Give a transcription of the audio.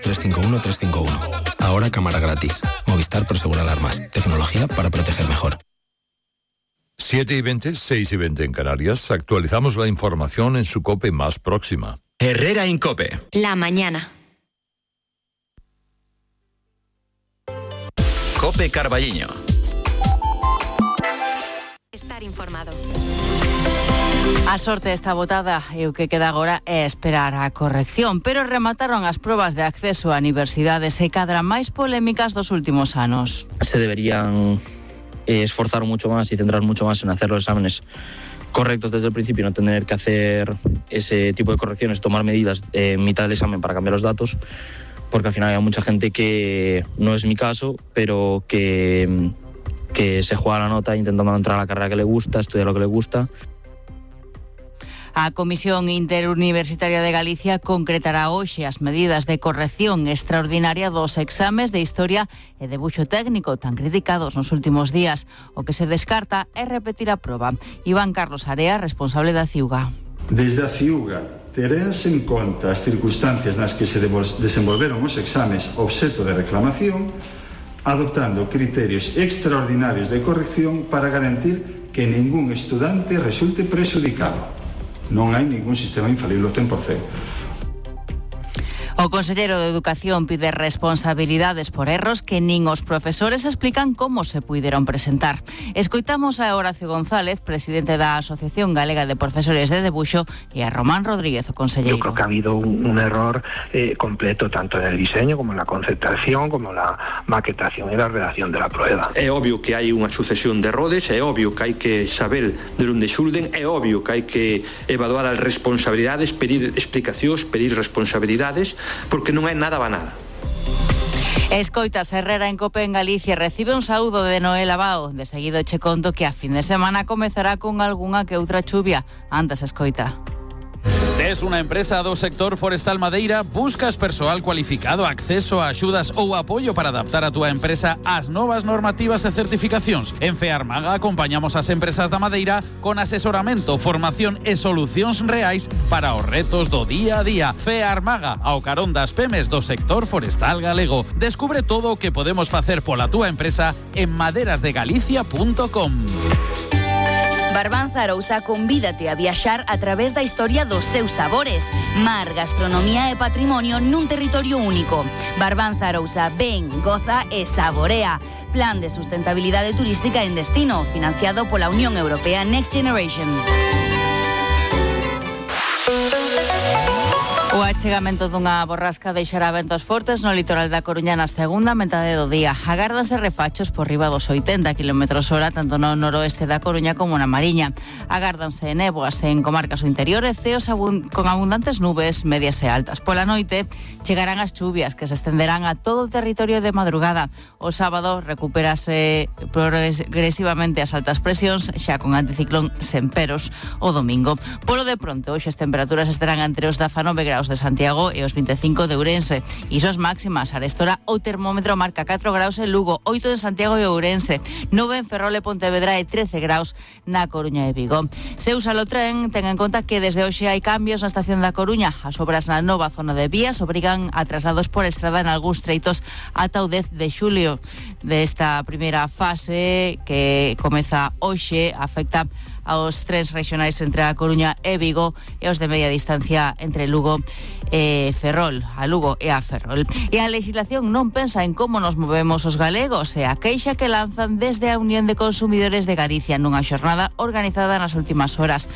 351 351. Ahora cámara gratis. Movistar Prosegur Alarmas. Tecnología para proteger mejor. 7:20, 6:20 en Canarias. Actualizamos la información en su COPE más próxima. Herrera en COPE. La mañana. COPE Carballiño. Estar informado. A sorte está botada e o que queda agora é esperar a corrección, pero remataron as probas de acceso a universidades e cadra máis polémicas dos últimos anos. Se deberían esforzar mucho más y centrar mucho más en hacer los exámenes correctos desde el principio y no tener que hacer ese tipo de correcciones, tomar medidas en mitad del examen para cambiar los datos, porque al final hay mucha gente que, no es mi caso, pero que se juega la nota intentando entrar a la carrera que le gusta, estudiar lo que le gusta. A Comisión Interuniversitaria de Galicia concretará hoxe as medidas de corrección extraordinaria dos exames de Historia e Debuxo Técnico tan criticados nos últimos días. O que se descarta é repetir a proba. Iván Carlos Area, responsable da CIUGA. Desde a CIUGA terense en conta as circunstancias nas que se desenvolveron os exames obxecto de reclamación, adoptando criterios extraordinarios de corrección para garantir que ningún estudante resulte prexudicado. Non hai ningún sistema infalible ao 100%. O conselleiro de Educación pide responsabilidades por erros que nin os profesores explican como se puideron presentar. Escoitamos a Horacio González, presidente da Asociación Galega de Profesores de Debuxo, e a Román Rodríguez, o conselleiro. Yo creo que ha habido un error completo tanto en el diseño como en la conceptación, como la maquetación y la redacción de la prueba. É obvio que hai unha sucesión de errores, é obvio que hai que saber de onde xulden, é obvio que hai que evaluar as responsabilidades, pedir explicacións, pedir responsabilidades, porque non é nada banal. Escoitas, Herrera en COPE en Galicia recibe un saúdo de Noel Abao. De seguido che conto que a fin de semana comezará con algunha que outra chuvia. Antes escoita. Tes unha empresa do sector forestal madeira, buscas persoal cualificado, acceso a axudas ou apoio para adaptar a túa empresa ás novas normativas e certificacións. En FEARMAGA acompañamos as empresas da madeira con asesoramento, formación e solucións reais para os retos do día a día. FEARMAGA, ao carón das pemes do sector forestal galego. Descubre todo o que podemos facer pola túa empresa en maderasdegalicia.com. Barbanza Arousa convídate a viaxar a través da historia dos seus sabores. Mar, gastronomía e patrimonio nun territorio único. Barbanza Arousa, ven, goza e saborea. Plan de sustentabilidade turística en destino, financiado pola Unión Europea Next Generation. O achegamento dunha borrasca deixará ventos fortes no litoral da Coruña na segunda metade do día. Agárdanse refachos por riba dos 80 km/h tanto no noroeste da Coruña como na Mariña. Agárdanse néboas en comarcas do interior e ceos con abundantes nubes medias e altas. Pola noite chegarán as chuvias que se estenderán a todo o territorio de madrugada. O sábado recupérase progresivamente as altas presións xa con anticiclón sen peros o domingo. Polo de pronto, hoxe as temperaturas estarán entre os 19 graus de Santiago e os 25 de Ourense. Isos máximas, arestora o termómetro marca 4 graus en Lugo, 8 en Santiago e Ourense, 9 en Ferrol e Pontevedra e 13 graus na Coruña e Vigo. Se usa o tren, ten en conta que desde hoxe hai cambios na estación da Coruña. As obras na nova zona de vías obrigan a traslados por estrada en algúns treitos ata o 10 de xulio. Desta primeira fase que comeza hoxe afecta aos trens regionais entre a Coruña e Vigo e os de media distancia entre Lugo e Ferrol, a Lugo e a Ferrol. E a legislación non pensa en como nos movemos os galegos e a queixa que lanzan desde a Unión de Consumidores de Galicia nunha xornada organizada nas últimas horas.